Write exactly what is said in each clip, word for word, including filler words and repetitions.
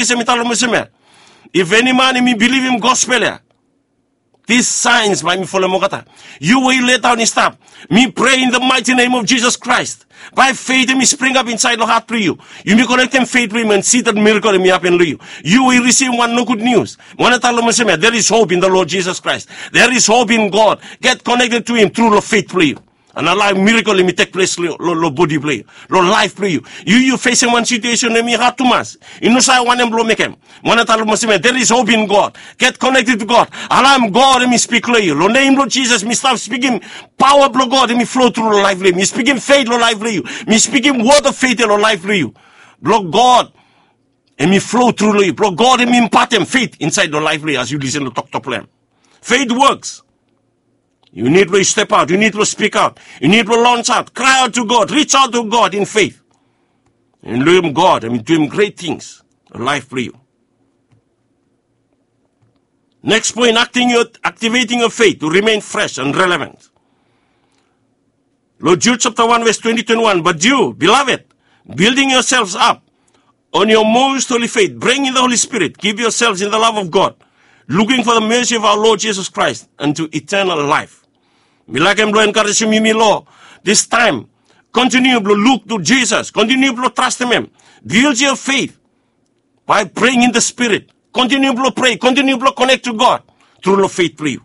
Jisas em i talem olsem ya, if eni man em i bilivim gospel ya, this signs bae mi folem olgeta. Yu we yu letaon i stap, mi prea in the mighty name of Jesus Christ, bae feit em i springap insaed long hat blong yu. Yumi konektem feit blong yu mo si that miracle em i hapen long yu. Yu we yu risivim wan nogud nius, mi wanta talem olsem ya, there is hope in the Lord Jesus Christ. There is hope in God. Get connected to him tru long feit blong yu. An alaem mirakel em i tekples long bodi blong yu, long laef blong yu. Yu yu fesem wan situesen em i had tumas, yu no save wanem blong mekem. Mi wanta talem olsem ya, there is hope in God. Get connected to God. Alaem God em i spik long yu. Long nem blong Jisas mi stap spikim paoa blong God em i flo tru long laef blong yu. Mi spikim feit long laef blong yu. Mi spikim wod of feit ya long laef blong yu. Blong God em i flo tru long yu. Blong God em i impatem feit insaed long laef blong yu as yu lisen long toktok blong hem. Feit woks. Yu nid blong yu step aot, yu nid blong spik aot, yu nid blong lons aot, krae aot tu God, ris aot tu God in feit. An lukim God em i duim gret tings long laef blong yu. Neks poen, aktiveting yo feit tu rimen fres an relevant. Long Jud sapta wan ves twenti twenti wan, bat yu beloved, bilding yoself ap on yo most holi feit, bringing the Holy Spirit, give yoself in the love of God, looking for the mercy of our Lord Jesus Christ unto eternal life. Mi laekem blong enkarejem yumi long this time. Kontiniu blong luk tu Jisas, kontiniu blong trastem hem. Bild yo feit bae praying in the Spirit. Kontiniu blong prea, kontiniu blong konek tu God tru long feit blong yu.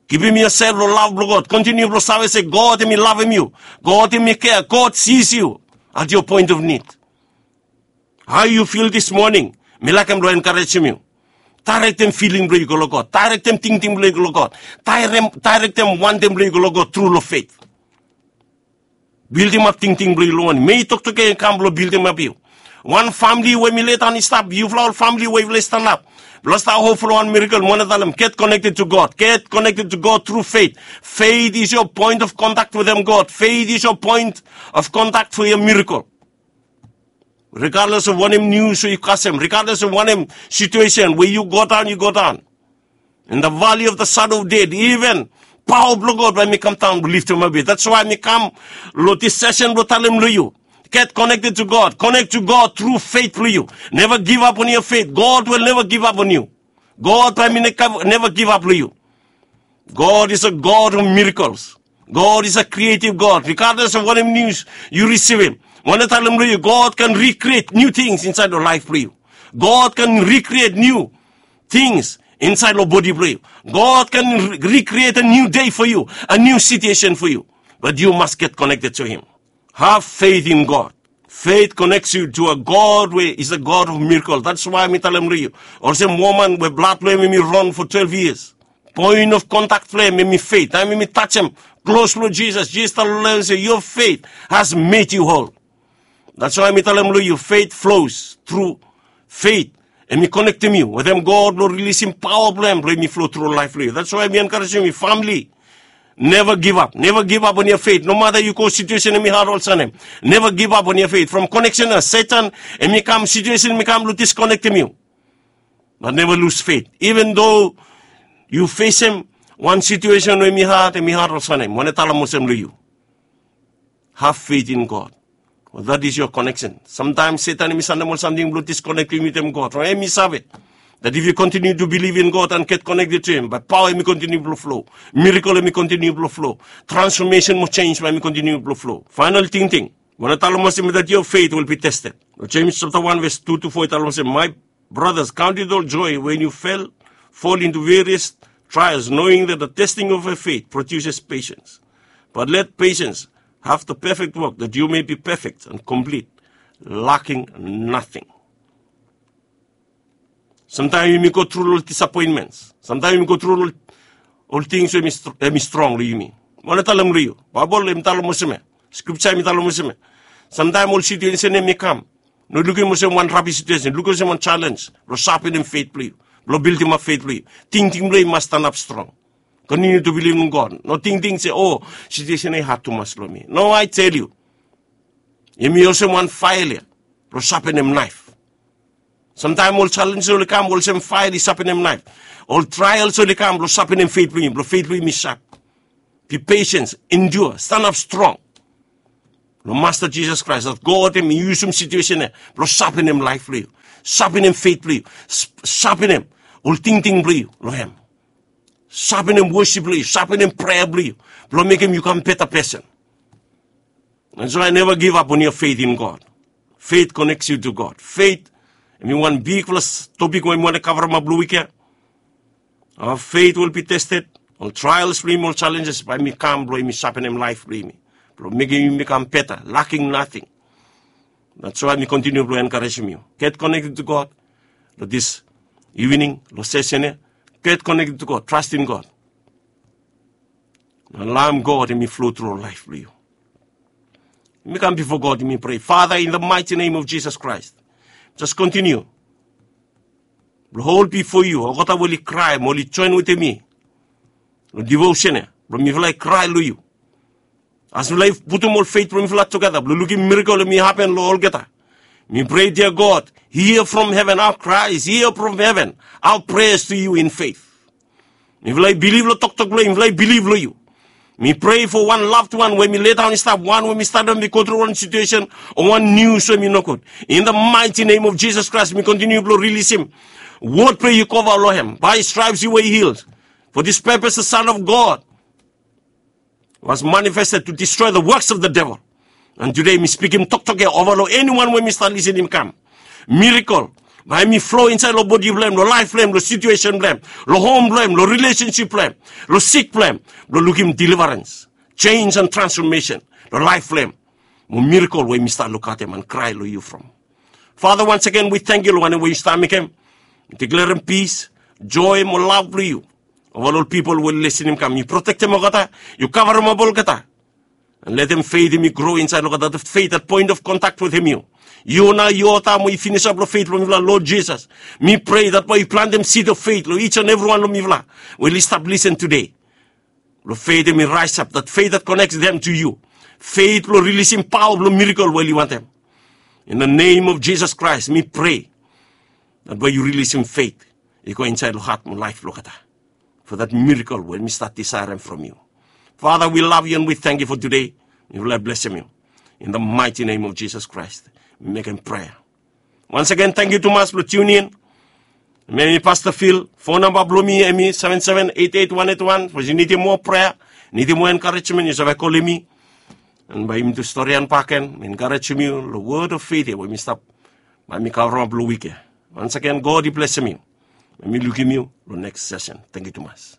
Givim yosel long lav blong God. Kontiniu blong save se God em i lavem yu. God em i kea. God sis yu at yo poen of nid. Hao yu fil this moning? Mi laekem blong enkarejem yu. Daerektem filing blong yu go long God. Daerektem tingting blong yu go long God. Daerektem wantem blong yu go long God tru long feit. Bildimap tingting blong yu long wanem? Mei toktok ya i kam blong bildimap yu. Wan famili we mi letaon i stap, yufala ol famili we yufala i stanap blong stap hop long wan mirakel, mi wanta talem, get connected to God. Get connected to God tru feit. Feit is yo poen of kontak wetem God. Feit is yo poen of kontak fo yo mirakel. Regardless of wanem nius we yu kasem, regardless of wanem situesen we yu godaon, yu godaon in the valley of the shadow of death, even paoa blong God bae mi kamdaon blong liftemap yu. That's why mi kam long this session blong talem long yu, get connected to God. Connect to God tru feit blong yu. Never give up on your faith. God will never give up on you. God bae mi never give up long yu. God is a God of miracles. God is a creative God. Regardless of wanem nius yu risivim, mi wanta talem long yu, God can recreate new things insaed long laef blong yu. God can recreate new things insaed long bodi blong yu. God can recreate a new day for you, a new situation for you. But you must get connected to him. Have faith in God. Faith connects you to a God we is a God of miracle. That's why mi talem long yu, olsem woman we blad blong hem hem i ron fo twelve years. Poen of kontak blong hem hem i feit. Taem hem i tajem klos blong Jisas, Jisas talem long hem se, your faith has made you whole. That's why mi talem long yu, feit flows tru feit. Hem i konektem yu wetem God blong rilisim paoa blong hem blong hem i flo tru long laef blong yu. That's why mi enkarejem yu, famili, never give up. Never give up on your faith. No mata yu go situesen hem i had olsem hem, never give up on your faith. From koneksen ya Setan hem i kam, situesen hem i kam blong diskonektem yu. But never lose faith. Even though yu fesem wan situesen we hem i had, hem i had olsem hem, mi wanta talem olsem long yu, have faith in God. That is your connection. Samtaem Setan hem i sandem ol samting blong diskonektem yu wetem God. From hem i save that if you continue to believe in God and get connected to him, bae paoa hem i kontiniu blong flo. Mirakel hem i kontiniu blong flo. Transformation mo jenis bae hem i kontiniu blong flo. Faenal tingting, mi wanta talem olsem that your faith will be tested. Long Jems sapta wan ves tu tu fo i talem olsem, my brothers, count it all joy when you fell, fall into various trials, knowing that the testing of your faith produces patience. But let patience have the perfect work, that you may be perfect and complete, lacking nothing. Samtaem yumi go tru long disapoentments. Samtaem yumi go tru long ol tings we hem i strong long yumi. Mi wanta talem long yu, Baebol hem i talem olsem ya. Skripja hem i talem olsem ya. Samtaem ol situesen hem i kam, no lukim olsem wan rabis situesen, lukim olsem wan jalenj blong sapenem feit blong yu, blong bildimap feit blong yu. Tingting blong yu i mas stanap strong. Kontiniu tu bilivim long God. No tingting se, o, situesen ya i had tumas long mi. No, I tell you, hem i olsem wan fael ya blong sapenem naef. Samtaem ol jalenj oli kam olsem fael i sapenem naef. Ol trael oli kam blong sapenem feit blong yu, blong feit blong yu i sap. Be patient, endure, stanap strong. long Masta Jisas Kraes, dat God hem i yusum situesen ya blong sapenem laef blong yu, sapenem fet blong yu, sapenem ol tingting blong yu long hem, sapenem wosip blong yu, sapenem prea blong yu, blong mekem yu kam beta pesen. And so I never give up on your faith in God. Faith connects you to God. Faith, hem i wan bigfala topik we mi wantem kavremap long wik ya. Our faith will be tested. Ol trials blong yumi, ol challenges bae i kam blong i sapenem laef blong yumi, blong mekem yumi kam beta, lacking nothing. That's why mi continue blong encouragem yu, get connected to God. Long this evening, long session ya, get connected to God, trust in God. Na laem God hem i flow through laef blong yu. Yumi kam bifo God, yumi prea. Father, in the mighty name of Jesus Christ, just continue blong hol bifo yu olgeta we oli krae mo oli joen wetem mi long devotion ya, blong mifala i krae long yu. As mifala i putum ol fet blong mifala tugeta blong lukim mirakel hem i hapen long olgeta, mi prea, dear God, hear from heaven our cries, hear from heaven our prayers to you in faith. Mifala i bilif long toktok blong yu, mifala i bilif long yu. Mi prea fo wan loved one we hem i ledaon i stap, wan we hem i stap long, hem i go tru wan situesen o wan nius we hem i nogud. In the mighty name of Jesus Christ, mi kontiniu blong rilisim wod blong yu kova long hem. By his stripes you were healed. For this purpose the Son of God was manifested to destroy the works of the devil. And today mi spikim toktok ya ova long eniwan we hem i stap lisenim, kam. Mirakel bae hem i flo insaed long bodi blong hem, long laef blong hem, long situesen blong hem, long hom blong hem, long rilesensip blong hem, long sik blong hem, blong lukim deliverance, change and transformation long laef blong hem. Mo mirakel we hem i stap lukaotem and krae long yu from. Father, once again we thank you long wanem we yu stap mekem. Mi deklerem pis, joe mo lav blong yu ova long ol pipol we oli lisenim, kam. Yu protektem olgeta, yu kavremap olgeta. And letem fet hem i gro insaed long olgeta, dat fet, dat point of contact wetem yu. Yu nao yu oltaem we yu finisap long fet blong mifala, Lord Jesus. Mi prea dat bae yu plantem seed of faith long each and everyone long mifala we oli stap lisen tede. Blong fet hem i raesap, dat fet dat connects them to you. Fet blong rilisim paoa blong mirakel we oli wantem. In the name of Jesus Christ, mi prea dat bae yu rilisim fet i go insaed long hat mo laef blong olgeta, for that miracle we mi stap disaerem from you. Father, we love you and we thank you for today. Mifala i blesem yu. In the mighty name of Jesus Christ, mi mekem prea. Once again, thank you tumas blong tune in. Mi hem i Pastor Phil. Phone number blong mi hem i seven seven eight eight one eight one. Sapos yu nidim moa prea, nidim moa encouragement, yu save kolem mi. And bae yumi tu storian bakegen, mi encourajem yu long word of faith ya we mi stap, bae mi kavremap long wik ya. Once again, God i blesem yu. Bae mi lukim yu long next session. Thank you tumas.